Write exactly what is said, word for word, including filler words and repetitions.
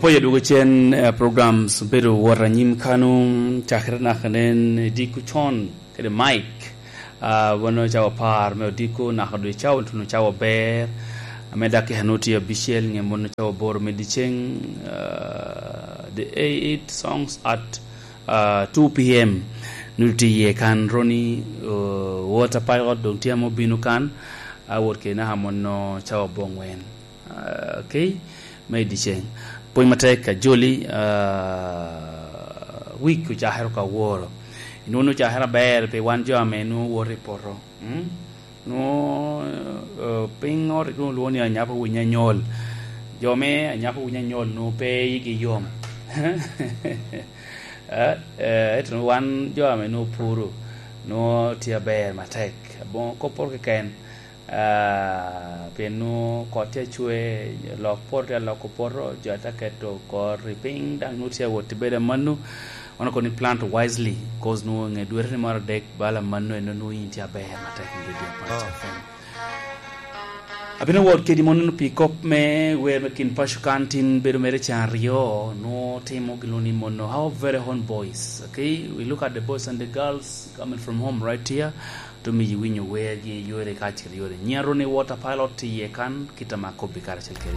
Pwony adwogo cen, eh, programs obedo wot anyim kano, cakere naka nen i diko con kede Mike. Ah, wano cawa par me odiko naka dwe cawa otuno cawa ber. Ame dak kika nu tye abicel nge mono cawa boro me diceng, ah, the eight songs at, ah, two p m. Nu tye iye kan Ronnie, oh, Water Pilot dong tye ame obino kan. Ah, wot kede naka mono cawa bongwen. Ah, okay, me i diceng. Pwony matek, ajoli, ah, wik ocakere ka woro. Inwoŋo ocakere aber pi wan jo ame nwoŋo woto i poto. Mm? Nwoŋo, eh, piny ot nwoŋo lwoŋo ni anyap owiny anyol. Jo me anyap owiny anyol nwoŋo pe igi yom. Eh, eh, ento wan jo ame nwoŋo puro, nwoŋo tye aber matek. Aboŋo kop poto keken, ah, pien nwoŋo kot tye acwe, lok poto tye aloko poto, jo ate keto kor i piny, daŋ nwoŋo tye awot i bedo amanno. Wan okobo ni plant wisely, 'cause nwoŋo nge dwete ni moro adek bala amanno, en nwoŋo in tye aber matek i redio Pwony F M. Abino wot kedi mono pi kop me wer me kin paco kan tin bedo mere can aryo, nwoŋo timo gin ni mono our very own boys, okay? We look at the boys and the girls coming from home right here. Tumi winyo wergi yore kacel yore. Nyaro ni Water Pilot tye iye kan, kita ma kobbi karacel kede.